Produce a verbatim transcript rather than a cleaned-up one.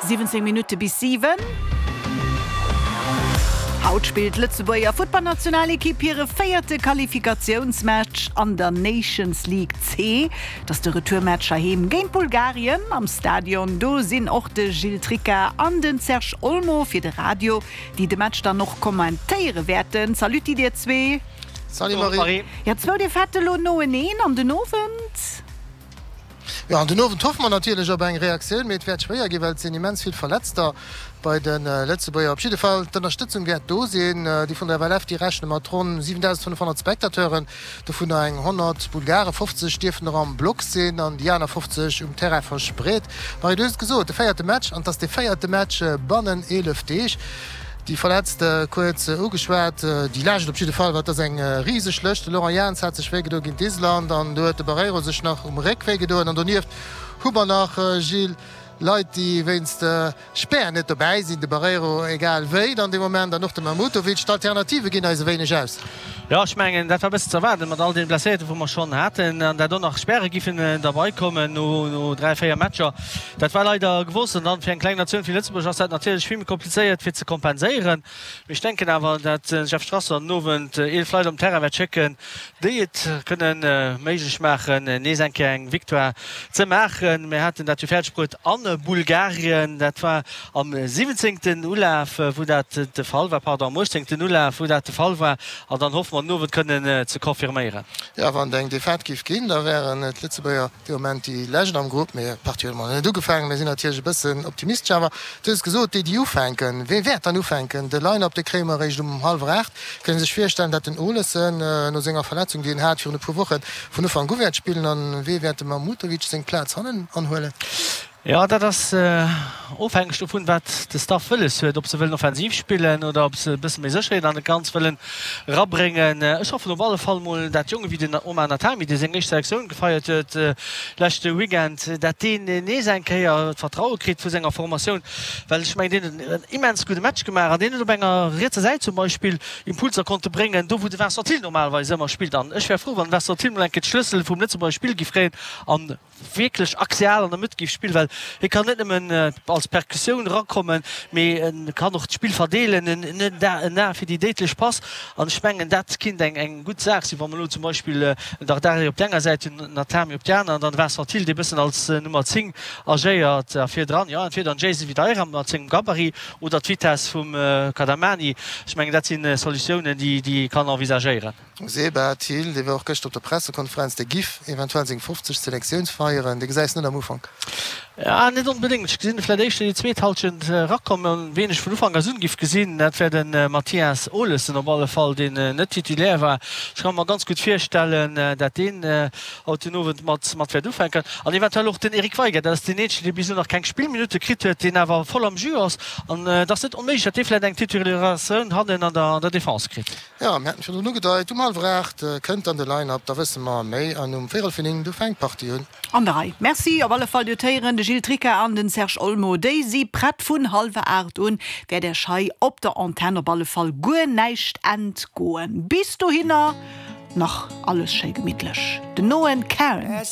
Siwwenzéng Minutte bis siwen. Haut spillt d'Lëtzebuerger Futtballnationalekipp hire véierte Qualifikatiounsmatch an der Nations League C. Dat ass de Retourmatch heiheem géint Bulgarien. Am Stadion do sinn och de Gilles Tricca an den Serge Olmo fir de Radio, déi de Match dann och kommentéiere wäerten. Salut dir zwee. Salut Marie. Jo, zwou Defaitë lo noeneen an den Owend. Jo, an den Owend hoffe mer natierlech op eng Reaktioun, mee et wäert schwéier ginn, well et sinn immens vill Verletzter bei de Lëtzebuerger. Op jidde Fall, d'Ënnerstëtzung wäert do sinn. Déi vun der F L F, déi rechne mat ronn siwendausendfënnefhonnert Spectateuren, dovunner eng honnert Bulgaren. fofzeg dierfen der am Block sinn an déi aner fofzeg um Terrain verspreet. Marie, du hues et gesot, de véierte Match, an et ass dee véierte Match bannen eelef Deeg. Déi Verletzt kuerz ugeschwat, déi Lescht op jidde Fall, well et ass eng riseg Lëscht. De Laurent Jans hat sech wéigedoen géint Island an do huet de Barreiro sech nach um Réck wéigedoen. An donieft hu mer nach, Gilles, Leit, déi wéinst Spär net dobäi sinn, de Barreiro egal wéi dann dee Moment an och de Mahmutovic. D'Alternative ginn eis e wéineg aus. Jo, ech mengen, dat war e bëssen ze erwaarden, mat all deene Blesséierten, wou mer schonn haten, an dat och nach Späre giffen derbei kommen no dräi, véier Matcher. Dat war leider gewosst. An dann fir eng kleng Natioun wéi Lëtzebuerg ass dat natierlech vill méi komplizéiert fir ze kompenséieren. Mee ech denken awer, dat de Jeff Strasser den Owend eelef Leit op den Terrain wäert schécken, déi et kënnen méiglech maachen, nees eng Kéier eng Victoire ze maachen. Mir haten dat jo fäerdeg bruet a Bulgarien. Dat war am siwwenzéngten Ulaf, wou dat de Fall war, pardon, am uechtzéngten Ulaf, wou dat de Fall war. An dann hoffe mer den Owend kënnen ze confirméieren. Jo, wann et eng Defaite géif ginn, da wären d'Lëtzebuerger dee Moment déi Lescht am Grupp. Mee d'Partie huet emol nach net ugefaangen. Mir sinn natierlech e bëssen optimistesch. Awer du hues gesot, déi, déi ufänken, wee wäert dann ufänken? De Line-up, dee kréie mer eréischt um hallwer aacht. Kënne sech virstellen, datt den Olesen no senger Verletzung, déi en hat virun e puer Wochen, vun Ufank u wäert spillen. An wee wäert dem Mahmutovic seng Plaz hannen anhuelen? Jo, dat ass ofhängeg dovun, wat de Staff wëlles huet, ob se wëllen offensiv spillen oder ob se e bësse méi Sécherheet an dat Ganzt wëllen erabréngen. Ech hoffen op alle Fall mol, dat Jonge wéi den Omar Natami, dee seng éischt Selektioun gefeiert huet leschte Weekend, dat deen nees eng Kéier d'Vertraue kritt vu senger Formatioun, well ech mengen, deen huet en immens gudde Match gemaach an deen huet op enger rietser Säit zum Beispill Impulser konnte bréngen, do wou de Vincent Thill normalerweis ëmmer spillt. An ech wär frou, wann de Vincent Thill mol eng Kéier d'Schlëssel vum Lëtzebuerger Spill giff kréien an wierklech axial an der Mëtt géif spillen, well hie kann net nëmmen als Perkussioun erakommen, mee en kann och d'Spill verdeelen, en huet en A fir déi déidlech Pass an ech mengen, dat kinnt eng eng gutt Saach sinn, wa mer elo zum Beispill en Dardari op der enger Säit hunn, en Atami op der aner an dann de Vincent Thill, dee bëssen als Nummer zéng agéiert a virdran, jo, entweder en Jason Videira mat sengem Gabarit oder d'Vitess vum Kadamani. Ech mengen, dat si Solutiounen, déi ee kann envisagéieren. Seba Thill, dee war och gëschter op der Pressekonferenz, dee giff eventuell seng fofzeg Selektioun feieren. Dee gesäis net am Ufank? Ja, net onbedéngt. Ech gesinn e vläit éischter déi zweet Halschent erakommen. Ween ech vun Ufank us un giff gesinn, dat wär de Mathias Olesen op alle Fall, deen net Titulaire war. Ech ka mer ganz gutt virstellen, dat deen haut den Owend mat mat wäert ufänken. An eventuell och den Eric Weigert, dat ass deen eenzegen, dee bis elo nach keng Spillminutte kritt huet, deen awer voll am Jus ass. An et ass net onméiglech, dat dee vläit eng Titularisatioun hannen an der an der Defense kritt. Jo, mir haten virdrun ugedeit, um hallwer aacht kënnt dann de Line-Up, da wësse mer méi. An um véierel vir néng, du fänkt d'Partie un. An der Rei. Merci op alle Fall. Dir hutt héieren, de Gilles Tricca an den Serge Olmo, déi si prett. Vun hallwer aacht un wäert Iech hei op der Antenn op alle Fall guer näischt entgoen. Bis dohinner nach alles schéi gemittlech. Den Noen Cairn.